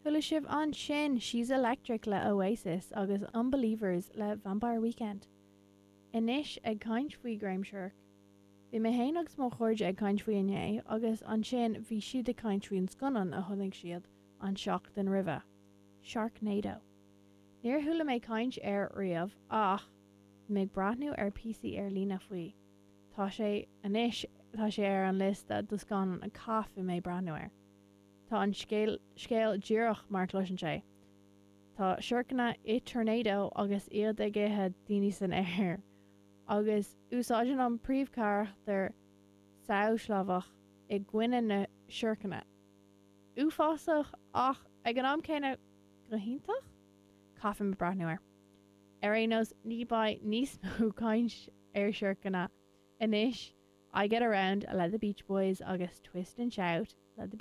Chuala sibh ansin She's Electric le Oasis agus Unbelievers le Vampire Weekend. Anois ag caint faoi ghreim siorc. Bhí mé féin agus mo chairde ag caint faoi inné agus ansin bhí siad ag caint faoin scannán a chonaic siad an seachtain roimhe, Sharknado. Níor chuala mé caint air riamh ach bhí mé ag breathnú ar píosaí ar líne faoi. Tá sé anois tá sé ar an liosta do scannán a caithfidh mé breathnú air. Tá an scéal díreach mar a chloiseann sé. Tá siorcanna i tornado agus iad ag ithe daoine san aer. Agus úsáideann an príomhcharachtar samh chlámhach i gcoinne na siorcanna. Uafásach ach ag an am céanna go hiontach? Caithfidh mé breathnú air. Ar aon nós ní beidh níos mó caint ar siorcanna anois, I Get Around le The Beach Boys agus Twist and Shout le The Beach.